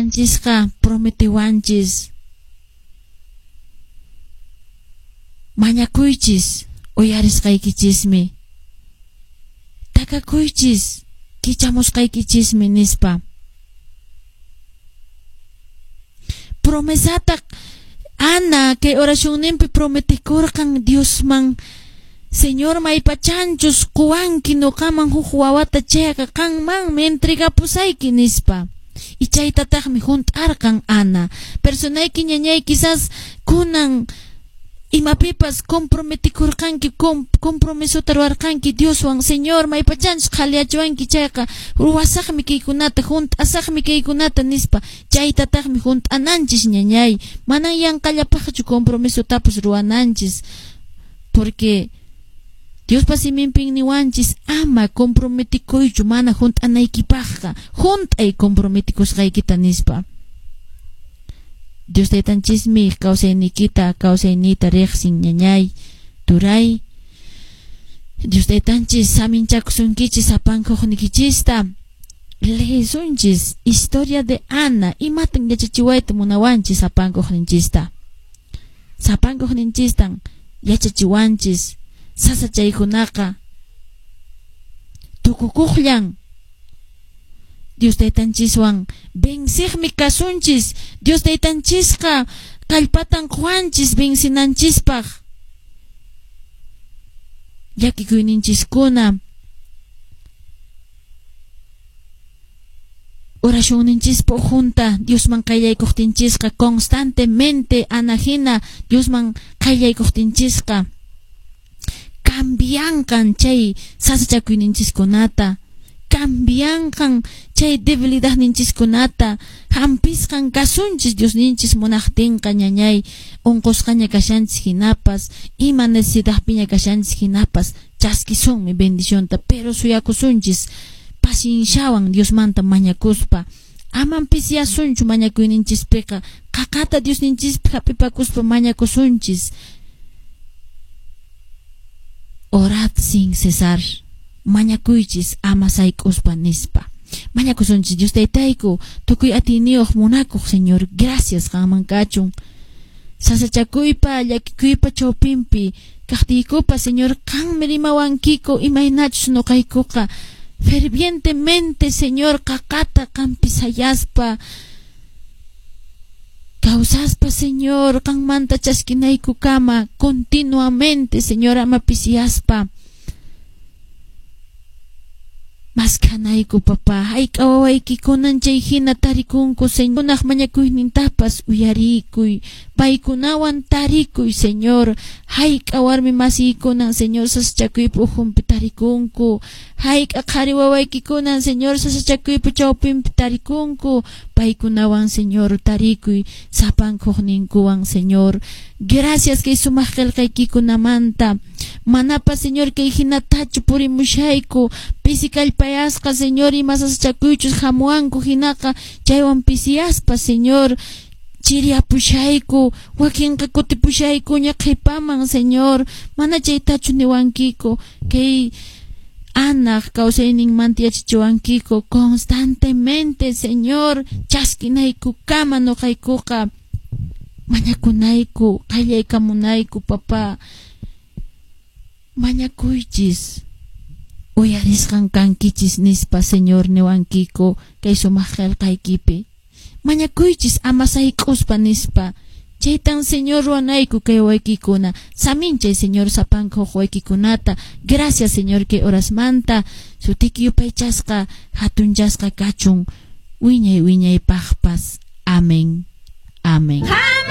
Taytanchisqa prometewanchis. Mañakuychis, uyarisqaykichismi. Takakuychis, kichamusqaykichismi nispa. Promesata Ana kay oracionninpi prometikurqan Diosman, Señor maypachanchus quwanki nuqaman huk wawata chayqa qanmanmi entregapusayki nispa. Y chaytataqmi hunt'arqan Ana. Personayki ñañay quizás kunan imapipas comprometikurqanki, compromisota ruwarqanki Dioswan, Señor maypachanchus qhaliyachiwanki chayqa ruwasaqmi kaykunata, hunt'asaqmi kaykunata nispa. Chaytataqmi hunt'ananchis ñañay. Manan yanqallapaqchu compromisotapas ruwananchis, porque Diospa siminpin niwanchis ama comprometikuychu mana hunt'anaykipaqqa, hunt'ay comprometikusqaykita nispa. Dios Taytanchismi kawsayniykita, kawsayniyta riqsin ñañay, turay. Dios Taytanchis saminchakusunkichis sapankuqnikichista. Leesunchis historia de Ana, imatan yachachiwayta munawanchis sapankuqninchista. Sapankuqninchistan yachachiwanchis sasachaykunaqa tukukuqllan. Dios Taytanchiswan venciqmi kasunchis. Dios Taytanchisqa kallpatan quwanchis vencinanchispaq. Llakikuyninchiskuna oracionninchispa ukhunta Diosman qayllaykuqtinchisqa constantemente Ana hina Diosman qayllaykuqtinchisqa cambianqan chay sasachakuyninchiskunata, cambianqan chay debilidadninchiskunata, hampisqan kasunchis Diosninchis munaqtinqa ñañay, unqusqaña kashanchis hinapas, ima necesidadpiña kashanchis hinapas, chaskisunmi bendicionta, pero suyakusunchis pacienciawan Diosmanta mañakuspa. Aman pisiyasunchu mañakuyninchispiqa, qaqata Diosninchispi hap'ipakuspa mañakusunchis. Orad sin cesar, mañakuychis ama sayk'uspa nispa. Mañakusunchis Dios Taytayku, tukuy atiyniyuq munakuq Señor, gracias qanman kachun. Sasachakuypa, llakikuypa chawpinpi kaqtiykupa, Señor, qanmi rimawankiku imaynachus nuqaykuqa fervientemente, Señor, qaqata qanpi sayaspa kawsaspa, Señor, qanmanta chaskinaykukama continuamente, Señor, ama pisiyaspa maskhanayku, papá. Hayk'a wawaykikunan chay hina tarikunku, Señor, kunaq mañakuynintapas uyarikuy, paykunawan tarikuy, Señor. Hayk'a warmi masiykunan, Señor, sasachakuypa ukhunpi tarikunku, hayk'a qhari wawaykikunan, Señor, sasachakuypa chawpinpi tarikunku, paykunawan, Señor, tarikuy, sapankuqninkuwan, Señor. Gracias kay sumaq qillqaykikunamanta. Manapas, Señor, kay hinatachu purimushayku, pisi kallpayasqa, Señor, ima sasachakuychus hamuwanku hinaqa chaywan pisiyaspa, Señor, chiriapushayku, wakinqa kutipushaykuña qhipaman, Señor, mana chaytachu niwankiku, kay Anaq kawsayninmanta yachachiwankiku constantemente, Señor, chaskinaykukama nuqaykuqa mañakunayku, qallaykamunayku, papá. Mañakuychis, uyarisqan kankichis nispa, Señor, niwankiku kay sumaq qillqaykipi. Mañakuychis ama sayk'uspa nispa. Chaytan, Señor, ruwanayku kay waykikuna. Saminchay, Señor, sapanka huk waykikunata. Gracias, Señor, kay horasmanta sutiki yupaychasqa, hatunchasqa kachun wiñay wiñaypaqpas. Amén. Amén.